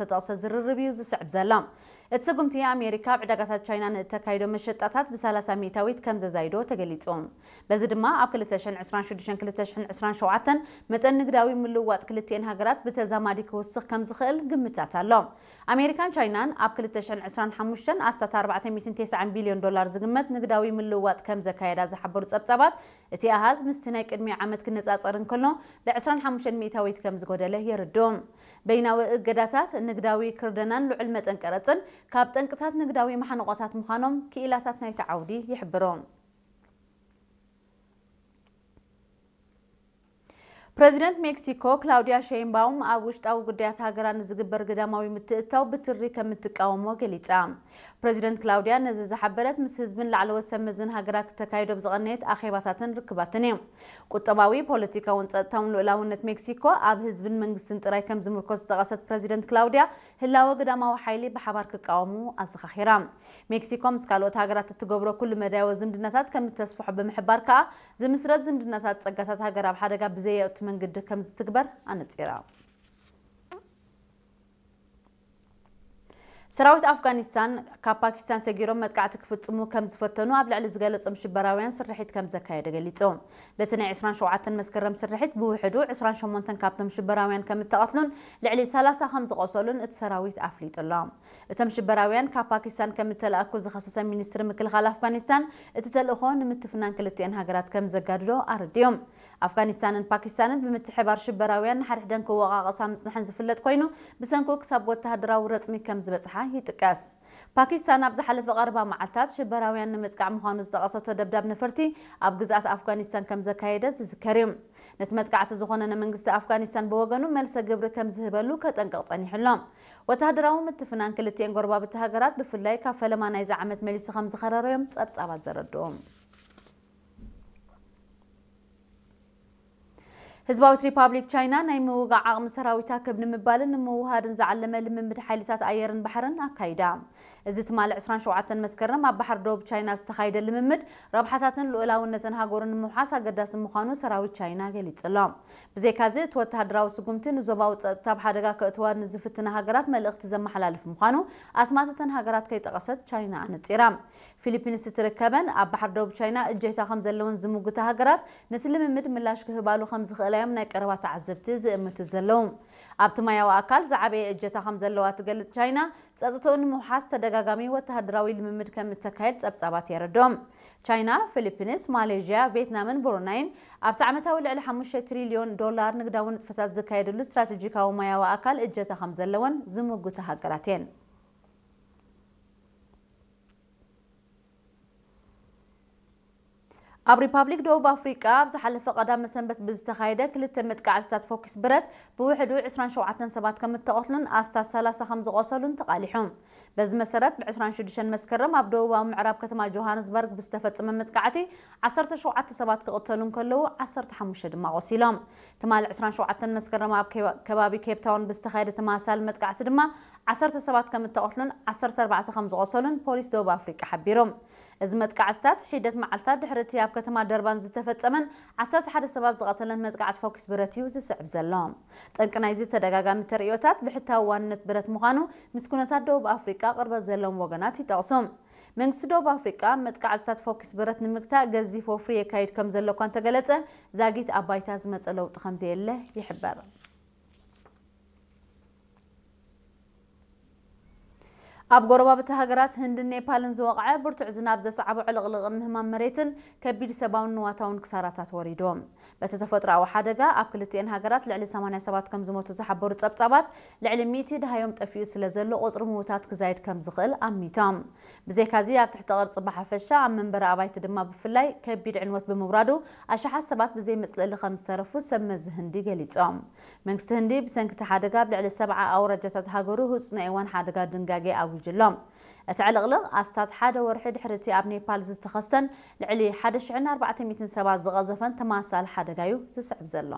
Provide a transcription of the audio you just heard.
ዝተጠቕሰ ዝርርብ እዩ ዝስዕብ ዘሎ። እቲ ስጉምቲ ኣሜሪካ ኣብ ዕዳጋታት ቻይና ንእተካይዶ መሸጣታት ብ30 ሚእታዊት ከም ዘዛይዶ ተገሊጹ። በዚ ድማ ኣብ ክልተ ሽሕን ዕስራን ሽዱሽተን ክልተ ሽሕን ዕስራን ሸውዓተን መጠን ንግዳዊ ምልውዋጥ ክልቲኤን ሃገራት ብተዛማዲ ክውስኽ ከም ዝኽእል ግምታት ኣሎ። ኣሜሪካን ቻይናን ኣብ ክልተ ሽሕን ዕስራን ሓሙሽተን ኣስታት ኣርባዕተ ሚእትን ተስዓን ቢልዮን ዶላር ዝግመት ንግዳዊ ምልውዋጥ ከም ዘካየዳ ዝሓበሩ ጸብጻባት፣ እቲ ኣሃዝ ምስቲ ናይ ቅድሚ ዓመት ክነጻጸር እንከሎ ብ25 ሚእታዊት ከም ዝጎደለ የርድኡ። በይናዊ እገዳታት፣ ንግዳዊ ክርደናን ልዑል መጠን ቀረጽን ካብ ጠንቅታት ንግዳዊ መሓንቆታት ምዃኖም ክኢላታት ናይቲ ዓውዲ ይሕብሩ። ፕረዚደንት ሜክሲኮ ክላውዲያ ሼይንባውም ኣብ ውሽጣዊ ጉዳያት ሃገራ ንዝግበር ግዳማዊ ምትእትታው ብትሪ ከም እትቃወሞ ገሊጻ። ፕረዚደንት ክላውዲያ ነዚ ዝሓበረት ምስ ህዝብን ላዕለዎት ሰብ መዝን ሃገራ ክተካይዶ ብዝቐነየት ኣኼባታትን ርክባትን እዩ። ቁጠባዊ፣ ፖለቲካውን ጸጥታውን ልኡላውነት ሜክሲኮ ኣብ ህዝብን መንግስትን ጥራይ ከም ዝምርኮስ ዝጠቐሰት ፕረዚደንት ክላውዲያ፣ ህላወ ግዳማዊ ሓይሊ ብሓባር ክቃወሙ ኣዘኻኺራ። ሜክሲኮ ምስ ካልኦት ሃገራት እትገብሮ ኩሉ መዳያዊ ዝምድናታት ከም እተስፍሖ ብምሕባር ከኣ፣ ዝምስረት ዝምድናታት ጸጋታት ሃገር ኣብ ሓደጋ ብዘየእቱ መንገዲ ከም ዝትግበር ኣነጺራ። ሰራዊት ኣፍጋኒስታን ካብ ፓኪስታን ሰጊሮም መጥቃዕቲ ክፍጽሙ ከም ዝፈተኑ ኣብ ልዕሊ ዝገለጾም ሽበራውያን ስርሒት ከም ዘካየደ ገሊጹ። በቲ ናይ ዕስራን ሸውዓተን መስከረም ስርሒት ብውሕዱ ዕስራን ሸሞንተን ካብቶም ሽበራውያን ከም እተቐትሉን ልዕሊ ሰላሳ ከም ዝቖሰሉን እቲ ሰራዊት ኣፍሊጡ ኣሎ። እቶም ሽበራውያን ካብ ፓኪስታን ከም እተላእኩ ዝኸሰሰ ሚኒስትሪ ምክልኻል ኣፍጋኒስታን፣ እቲ ተልእኾ ንምትፍናን ክልቲኤን ሃገራት ከም ዘጋድዶ ኣረዲኡ። ኣፍጋኒስታንን ፓኪስታንን ብምትሕባር ሽበራውያን ንሓድሕደን ክወቓቐሳ ምጽንሐን ዝፍለጥ ኮይኑ፣ ብሰንኩ ክሳብ ወተሃደራዊ ረጽሚ ከም ዝበጽሓ ይጥቀስ። ፓኪስታን ኣብ ዝሓለፈ ቀረባ መዓልታት ሽበራውያን ንምጥቃዕ ምዃኑ ዝጠቐሰቶ ደብዳብ ነፈርቲ ኣብ ግዝኣት ኣፍጋኒስታን ከም ዘካየደት ዝዝከር እዩ። ነቲ መጥቃዕቲ ዝኾነነ መንግስቲ ኣፍጋኒስታን ብወገኑ መልሰ ግብሪ ከም ዝህበሉ ከጠንቅቕ ጸኒሑ ኣሎ። ወተሃደራዊ ምትፍናን ክልቲኤን ጎረባብቲ ሃገራት ብፍላይ ካብ ፈለማ ናይዚ ዓመት መሊሱ ከም ዝኸረረዮም ጸብጻባት ዘረድኡ። ህዝባዊት ሪፓብሊክ ቻይና ናይ ምውጋእ ዓቕሚ ሰራዊታ ክብ ንምባልን ንምውሃድን ዝዓለመ ልምምድ ሓይልታት ኣየርን ባሕርን ኣካይዳ። እዚ ትማሊ ዕስራን ሸውዓተን መስከረም ኣብ ባሕሪ ደቡብ ቻይና ዝተኻየደ ልምምድ፣ ረብሓታትን ልኡላውነትን ሃገሩ ንምውሓስ ኣገዳሲ ምዃኑ ሰራዊት ቻይና ገሊጹ ኣሎ። ብዘይካዚ፣ እቲ ወተሃደራዊ ስጉምቲ ንዞባዊ ጸጥታ ኣብ ሓደጋ ከእትዋ ንዝፍትና ሃገራት መልእኽቲ ዘመሓላልፍ ምዃኑ ኣስማት እተን ሃገራት ከይጠቐሰት ቻይና ኣነጺራ። ፊሊፒንስ እትርከበን ኣብ ባሕሪ ደቡብ ቻይና እጀታ ከም ዘለወን ዝምጉታ ሃገራት፣ ነቲ ልምምድ ምላሽ ክህባሉ ከም ዝኽእላ እዮም ናይ ቀረባ ተዓዘብቲ ዝእምቱ ዘለዉ። ኣብቲ ማያዊ ኣካል ዝዓበየ እጀታ ከም ዘለዋ ትገልጽ ቻይና፣ ጸጥታኡ ንምውሓስ ተደጋጋሚ ወተሃደራዊ ልምምድ ከም እተካየድ ጸብጻባት የረድኦም። ቻይና፣ ፊሊፒንስ፣ ማሌዥያ፣ ቪየትናምን ብሩናይን ኣብቲ ዓመታዊ ልዕሊ ሓሙሽተ ትሪልዮን ዶላር ንግዳዊ ንጥፈታት ዝካየደሉ ስትራቴጂካዊ ማያዊ ኣካል እጀታ ከም ዘለወን ዝምጉታ ሃገራት እየን። ኣብ ሪፓብሊክ ደቡብ ኣፍሪቃ ኣብ ዝሓለፈ ቀዳመ ሰንበት ብዝተኻየደ ክልተ መጥቃዕትታት ፎኪስ ብረት ብውሕዱ ዕስራን ሸውዓተን ሰባት ከም እተቐትሉን ኣስታት ሰላሳ ከም ዝቖሰሉን ተቓሊሑ። በዚ መሰረት፣ ብ ዕስራን ሽዱሽተን መስከረም ኣብ ደቡባዊ ምዕራብ ከተማ ጆሃንስበርግ ብዝተፈጸመ መጥቃዕቲ ዓሰርተ ሸውዓተ ሰባት ክቕተሉ እንከለዉ፣ ዓሰርተ ሓሙሽተ ድማ ቆሲሎም። ትማሊ ዕስራን ሸውዓተን መስከረም ኣብ ከባ-፣ ከባቢ ኬፕ ታውን ብዝተኻየደ ተመሳሳሊ መጥቃዕቲ ድማ ዓሰርተ ሰባት ከም እተቐትሉን ዓሰርተ ኣርባዕተ ከም ዝቖሰሉን ፖሊስ ደቡብ ኣፍሪቃ ሓቢሩ። እዚ መጥቃዕትታት ሒደት መዓልታት ድሕሪ እቲ ኣብ ከተማ ደርባን ዝተፈጸመን ዓሰርተ ሓደ ሰባት ዝቐተለን መጥቃዕቲ ፎኪስ ብረት እዩ ዝስዕብ ዘሎ። ጠንቂ ናይዚ ተደጋጋሚ ተርእዮታት ብሕታዊ ዋንነት ብረት ምዃኑ ምስ ኩነታት ደቡብ ኣፍሪቃ ቅርበት ዘለዎም ወገናት ይጠቕሱ። መንግስቲ ደቡብ ኣፍሪቃ መጥቃዕትታት ፎኪስ ብረት ንምግታእ ገዚፍ ወፍሪ የካይድ ከም ዘሎ እኳ እንተገለጸ፣ ዛጊት ኣብ ባይታ ዝመጸ ለውጢ ከም ዘየለ ይሕበር። ኣብ ጎረባብቲ ሃገራት ህንድን ኔፓልን ዝወቕዐ ብርቱዕ ዝናብ ዘስዓቦ ዕልቕልቕን ምህማም መሬትን ከቢድ ሰብኣውን ንዋታውን ክሳራታት ወሪድዎም። በቲ ተፈጥሮኣዊ ሓደጋ ኣብ ክልቲኤን ሃገራት ልዕሊ ሰማንያ ሰባት ከም ዝሞቱ ዝሓበሩ ጸብጻባት፣ ልዕሊ ሚእቲ ደሃዮም ጠፊኡ ስለ ዘሎ ቁጽሪ ምዉታት ክዛይድ ከም ዝኽእል ኣሚቶም። ብዘይካዚ ኣብ ትሕቲ ቅርጺ ብሓፈሻ ኣብ መንበሪ ኣባይቲ ድማ ብፍላይ ከቢድ ዕንወት ብምውራዱ ኣሽሓት ሰባት ብዘይ መጽለሊ ከም ዝተረፉ ሰብ መዚ ህንዲ ገሊጾም። መንግስቲ ህንዲ ብሰንኪ እቲ ሓደጋ ኣብ ልዕሊ ሰብዓ ኣውራጃታት ሃገሩ ህጹጽ ናይ እዋን ሓደጋ ድንጋጌ ኣዊጁ ኣሎ። እቲ ዕልቕልቕ ኣስታት ሓደ ወርሒ ድሕሪ እቲ ኣብ ኔፓል ዝተኸስተን ልዕሊ ሓደ ሽሕን ኣርባዕተ ሚእትን ሰባት ዝቐዘፈን ተመሳሳሊ ሓደጋ እዩ ዝስዕብ ዘሎ።